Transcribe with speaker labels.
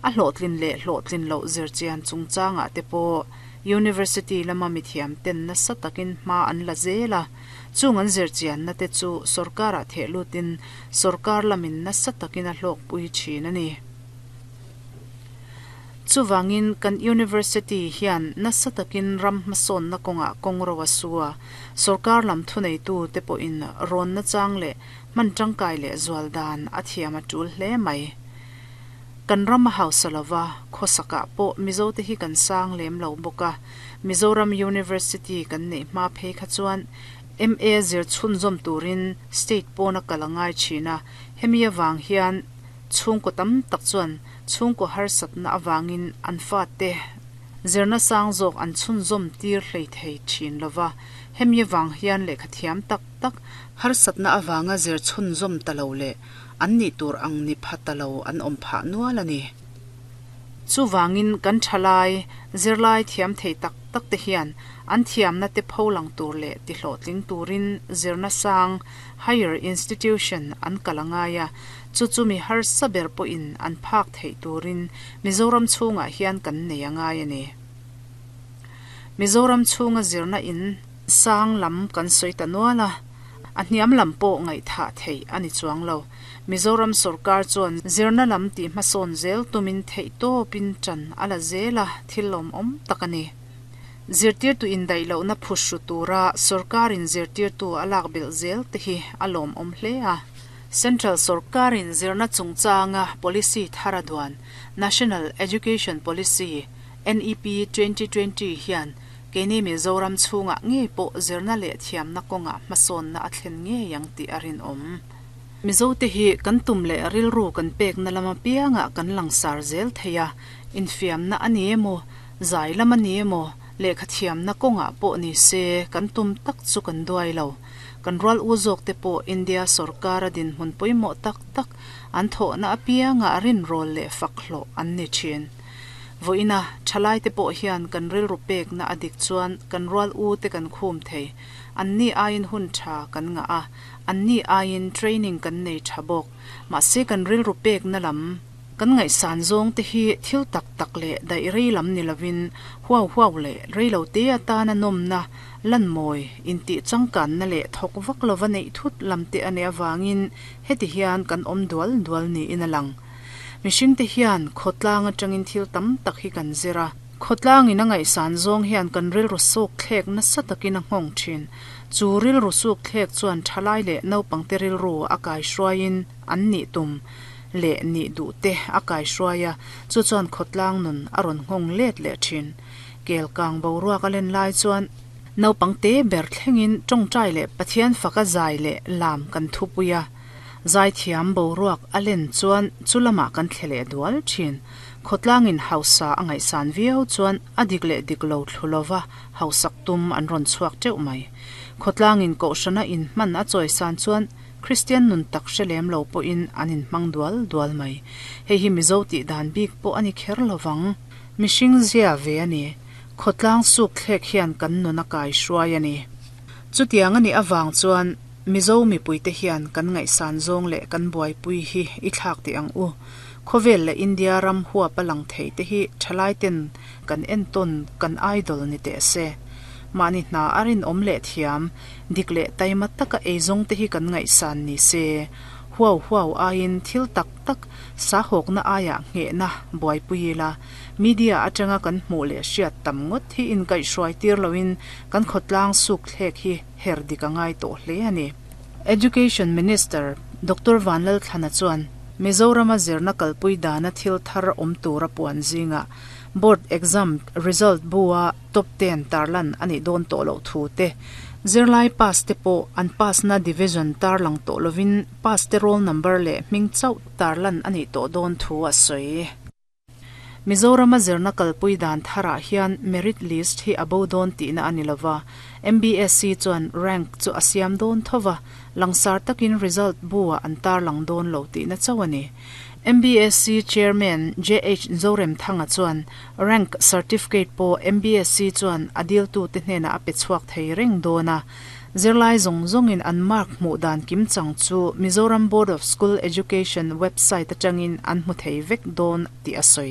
Speaker 1: A hlawhtlin leh hlawhtlin loh zirchian chungchangah te pawh University lama mithiam ten nasa takin hma an la zel a, chung an zirchianna te chu sorkarah theh lutin sorkar lamin nasa takin a hlawkpui thin a ni. Chuvangin kan University hian nasa takin ram hmasawnna kawngah kawng ro a su a, sorkar lam thuneitu te pawhin rawn nachang leh hman tangkai leh zual dan a thiam a tul hle mai. Kan ram a hausa lova, khawsakah pawh Mizote hi kan sang lem lo bawk a, Mizoram University kan neih hma phei kha chuan MA zir chhunzawm turin state pawna kal a ngai thin a, hemi avang hian chhungkaw tam tak chuan chhungkaw harsatna avangin an fate zirna sang zawk an chhunzawm tir hlei thei thin lova, hemi avang hian lehkha thiam tak tak harsatna avanga zir chhunzawm ta lo leh an nih tur ang ni pha ta lo an awm phah nual a ni. Chuvangin kan thalai, zirlai thiam thei tak tak te hian an thiamna te pho lang tur leh ti hlawhtling turin zirna sang, higher institution, an kal a ngai a, chu chu mi harsa ber pawhin an phak theih turin Mizoram chhungah hian kan nei a ngai a ni. Mizoram chhunga zirna in sang lam kan sawi ta nual a, a hniam lam pawh ngaihthah theih a ni chuang lo. Mizoram sorkar chuan zirna lam tih hmasawn zel tumin theihtawpin ṭan a la zel a, thil lawmawm tak a ni. Zirtirtu indaih lohna phuhru tura sorkarin zirtirtu a lak belh zel te hi a lawmawm hle a. Central sorkarin zirna chungchanga policy thar a duan, National Education Policy, NEP 2020, hian keini Mizoram chhungah ngei pawh zirna leh thiamna kawngah hmasawnna a thlen ngei ang tih a rinawm. Mizote hi kan tum leh rilru kan pekna lam apiangah kan langsar zel thei a, infiamna a ni emaw, zai lam a ni emaw, lehkha thiamna kawngah pawh ni se kan tum tak chu kan duai lo. Kan rual u zawkte pawh India sorkara dinhmun pawimawh tak tak an thawhna apiangah rinrawl leh fak hlawh an ni thin. Vawiina thalaite pawh hian kan rilru pekna a dik chuan kan rual u te kan khum thei. Anni aiin hun tha kan ngah a, anni aiin training kan nei tha bawk. Mahse kan rilru pekna lam kan ngaihsan zawng te hi thil tak tak leh daih rei lam ni lovin huau huau leh rei lo te atana nawmna, lanmawi, intih changkanna leh thawk vak lova neih thut lam te a nih avangin heti hian kan awm dual dual niin a lang. Mihringte hian khawtlang atangin thil tam tak hi kan zir a. Khawtlangin a ngaihsan zawng hian kan rilru suk thlek nasa takin a nghawng thin. Chu rilru suk thlek chuan thalai leh naupangte rilru a kaihruaiin an nih tum leh nih duh te a kaihruai a, chu chuan khawtlang nun a rawn nghawng let leh thin. Kelkang boruak a len lai chuan naupangte ber thlengin tawngtai leh Pathian faka zai leh lam kan thupui a. Zaithiam boruak a len chuan chu lamah kan thle leh dual thin. Khawtlangin hausa a ngaihsan viau chuan a dik leh dik lo thlu lova hausak tum an rawn chhuak teuh mai. Khawtlangin kohhrana inhman a chawisan chuan Kristian nun tak hre lem lo pawhin an inhmang dual dual mai. Hei hi Mizo tih dan bik pawh a ni kher lovang. Mihring zia ve a ni. Khawtlang suk thlek hian kan nun a kai hruai a ni. Chutiang a nih avang chuan Mizo mipuite hian kan ngaihsan zawng leh kan buaipui hi i thlak teh ang u. Khawvel leh India ram huap a lang thei te hi thalai ten kan entawn kan idol ni teh se. Mahni hna a rinawm leh thiam, dik leh taima taka eizawng te hi kan ngaihsan ni se. Huau huau aiin thil tak tak sahawkna aiah nghehna buaipui ila, media atanga kan hmuh leh hriat tam ngawt hi inkaihhruai tir loin kan khawtlang suk thlek hi her dik a ngai tawh hle a ni. Education Minister Doctor Vanlalthlana chuan Mizorama zirna kalpui dana thil thar awm tura puan zingah Board exam result bu-a top ten tarlan a nih dawn tawh loh thu te, zirlai pass te pawh an pass-na division tarlang tawh lovin pass te roll number leh hming chauh tarlan a nih tawh dawn thu a sawi. Mizorama zirna kalpui dan tharah hian merit list hi a bo dawn tihna a ni lova, MBSC chuan rank chu a siam dawn tho va, langsar takin result bu-ah an tarlang dawn lo tihna chauh a ni. MBSC Chairman JH Zoremthanga chuan rank certificate pawh MBSC chuan a diltute hnenah a pe chhuak thei reng dawn a, Zirlai zawng zawngin an mark hmuh dan kimchang chu Mizoram Board of School Education website atangin an hmu thei vek dawn tih a sawi.